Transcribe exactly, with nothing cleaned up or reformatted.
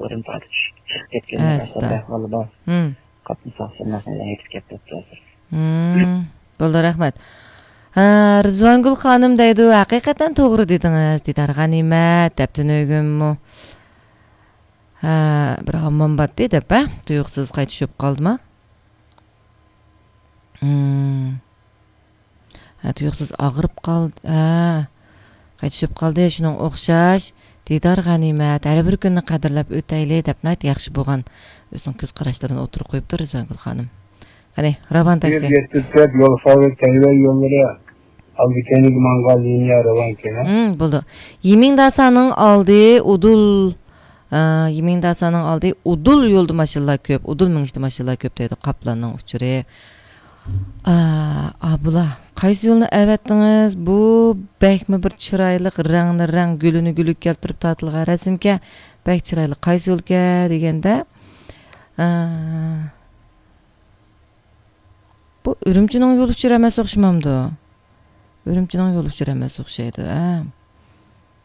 بىرىم تارتىپ چۈشۈپ چىقىپ كەتكەن ئەستا ئەھۋالى بار. قاپتىن ساقچىلار يېتىپ كەپتۇ ھازىر. بولدى، رەھمەت. ھە، رىزۋانگۈل خانىم دەيدۇ، ھەقىقەتەن توغرا دېدىڭىز، دىدار غەنىمەت، دەپتۇ نۆگۈممۇ. ھە، بىر ھاممام باتتى دەپ، ھە، تۇيۇقسىز قايتا چۈشۈپ قالدىما؟ ھە، تۇيۇقسىز ئاغرىپ قالدى. ھە، قايتا چۈشۈپ قالدى. شۇنىڭغا ئوخشاش. دىدار غەنىمەت. ھەر بىر كۈننى قەدىرلەپ ئۆتەيلى، دەپ ناھايىتى ياخشى بولغان ئۆزىنىڭ كۆز قاراشلىرىنى ئوتتۇرىغا قويۇپتۇ رىزۋانگۈل خانىم. قېنى، راۋان تاكسى. يەتتە تۆت يول خەۋىرى، تەيۋەن يوللىرى، ئالدى كەينىگە ماڭغان لىنىيە راۋانكەن. ھىم، بولدى. يىمىڭداسانىڭ ئالدى ئۇدۇل، ئا، يىمىڭداسانىڭ ئالدى ئۇدۇل يولدا ماشىنىلار كۆپ، ئۇدۇل مېڭىشتا ماشىنىلار كۆپ دەيدۇ، قاپلاننىڭ ئۇچۇرى. ئا، ئابلا، قايسى يولنى ئەۋەتتىڭىز؟ بۇ بەكمۇ بىر چىرايلىق، رەڭنى رەڭ، گۈلىنى گۈلگە كەلتۈرۈپ تارتىلغان رەسىمكەن. بەك چىرايلىق. قايسى يولكەن دېگەندە، ئا، بۇ ئۈرۈمچىنىڭ يول ئۇچۇرى ئەمەس ئوخشىمامدۇ؟ ئۈرۈمچىنىڭ يول ئۇچۇرى ئەمەس ئوخشايدۇ، ھە.